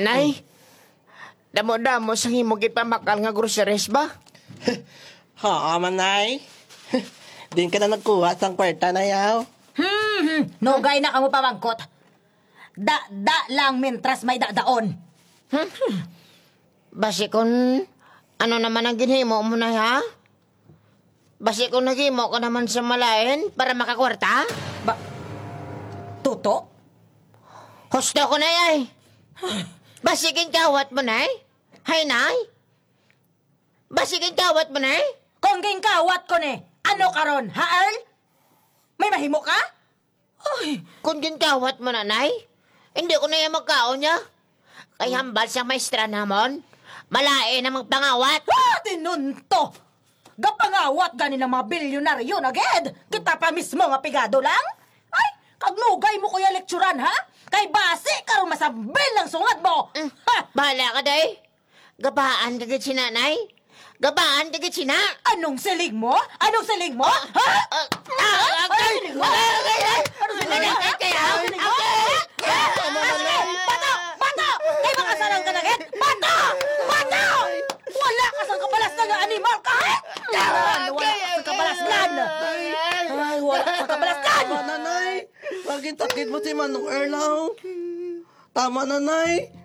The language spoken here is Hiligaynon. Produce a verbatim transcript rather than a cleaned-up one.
Nay, damo-damo sa imo gipamakal nga groceries ba? Oo man, Nay. Din ka na nagkuha sang kwarta, Nay, aw. Hmm, hmm. Nugay na kamo pamangkot. Da, da lang mintras may dadaon. Basi kun ano naman ang ginhimo mo, Nay, ha? Basi kun naghimo ka naman sa malain para makakwarta? Ba, tuto? Husto ko, Nay, ay. Basi ginkawat mo, Nay? Hay, Nay? Basi ginkawat mo, Nay? Kung ginkawat ko ni, ano karon, ha, Earl? May mahimo ka? Ay, kung ginkawat mo na, Nay, hindi ko na yan magkaon niya. Kay hambal sang maestra namon, malain ang magpangawat. Ah, tinunto! Gapangawat gani ng mga bilyonaryo na gid! Kita pa mismo nga pigado lang? Ay, kagnugay mo kuya lekturan, ha? Kay basi karon masambil ang sungad mo! Mm. Ha! Bahala ka, Day. Gabaan ka gid si Nanay. Gabaan ka gid sina. Anong siling mo? Anong siling mo? Ha? Ah, ah, agay! Agay! Agay! Agay! Agay! Agay! Ah, sige, bato! Bato! Kay makasalang ka na gid! Bato! Bato! Wala ka sang kabalasnan nga animal ka! Wala ka sang kabalasnan! Ay, wala ka sang kabalasnan! Tama na, Nay. Bakit sakit mo si Manong Erlaw? Tama na, Nay.